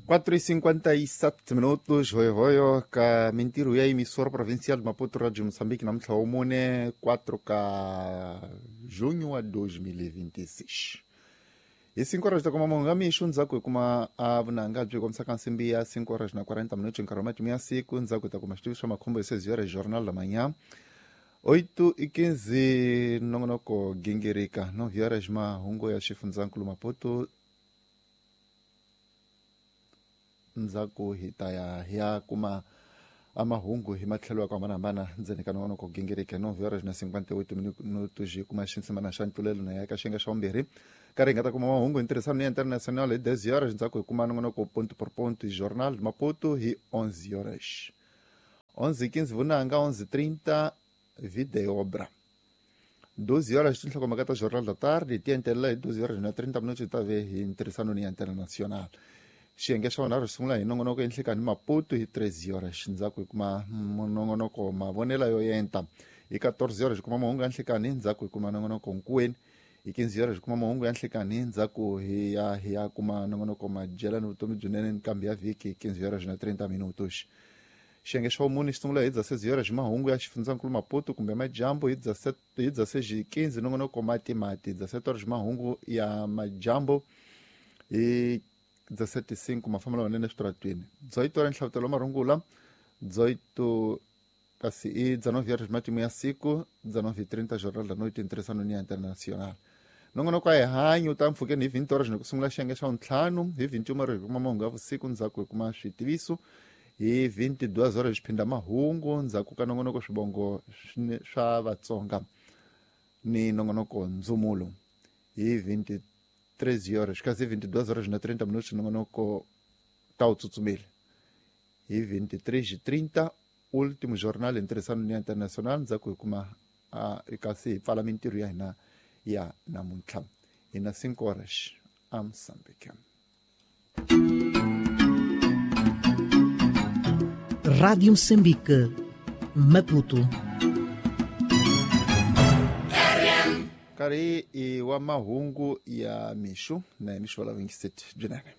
4:57 minutos hoyohoyo ka mintirho ya emissora provincial de Maputo Radio Moçambique namuntlha wa mune 4 ka junho wa 2026 hi 5 horas ta kuma mahungu ya mixo. Ndzhaku hi kuma a vunanga byi kombisaka nsimbi ya 5 horas na 40 minutos, nkarhi wa matimu ya siku. Ndzhaku hi ta kuma xitivi swa makhombo hi 6 horas, Jornal da Manhã. 8:15 nongonoko gingirika. 9 horas mahungu ya xifundzankulu Maputo. Ndzhaku hi ta ya hi ya kuma a mahungu hi matlhelo ya ku hambanahambana ndzeni ka nongonoko gingirika. 9 horas na 58 minutos hi kuma xinsimana xa ntulelo na ya ka xiyenge xa vumbirhi, karhi hi nga ta kuma mahungu hi ntirhisano ya international hi 10 horas. Ndzhaku hi kuma nongonoko ponto por ponto, Jornal de Maputo hi 11 horas. 11:15 vunanga, 11:30 video obra. 12 horas tinhlokomhaka ta Jornal da Tarde ti entelela hi 12 horas na 30 minutos hi ta ve hi ntirhisano ni ya international. Xiyenge xa vunharhu xi sungula hi nongonoko enhlekani Maputo hi 13 horas. Ndzhaku hi kuma nongonoko mavonela yo enta hi 14 horas. Hi kuma mahungu ya nhlekani. Ndzhaku hi kuma nongonoko nkuweni hi 15 horas. Hi kuma mahungu ya nhlekani. Ndzhaku hi ya hi ya kuma nongonoko madyela ni vutomi byinene nkambi ya vhiki hi 15 horas na 30 minutos. Xiyenge xa vumune xi sungula hi 16 horas hi mahungu ya xifundzankulu Maputo kumbe madyambu. Hi 16:15 nongonoko matimati. 17 horas mahungu ya madyambu. Hi 17:05 mafambelo manene eswitaratweni. 18 horas nhlavutelo wa marungula. 18 kasi i 19 horas matimu ya siku. 19:30 Jornal da Noite ntirhisano ni ya international. Nongonoko a hi hanyi u ta mpfhukeni hi 20 horas ni ku sungula xiyenge xa vuntlhanu. Hi 21 horas hi kuma mahungu ya vusiku. Ndzhaku hi kuma switiviso. Hi 22 horas xiphinda mahungu. Ndzhaku ka nongonoko swivongo swa Vatsonga ni nongonoko ndzumulo hi 23 horas. Kasi hi 22 horas na 30 minutos nongonoko ta wu tsutsumile. Hi 23:30 último jornal hi ntirhisano ni international. Ndzhaku hi kuma kasi hi pfala mintirho ya hina ya namuntlha hi na 5 horas a Moçambique. Rádio Moçambique, Maputo. Nkarhi i wa mahungu ya mixo na hi mixo va lavingisi byinene.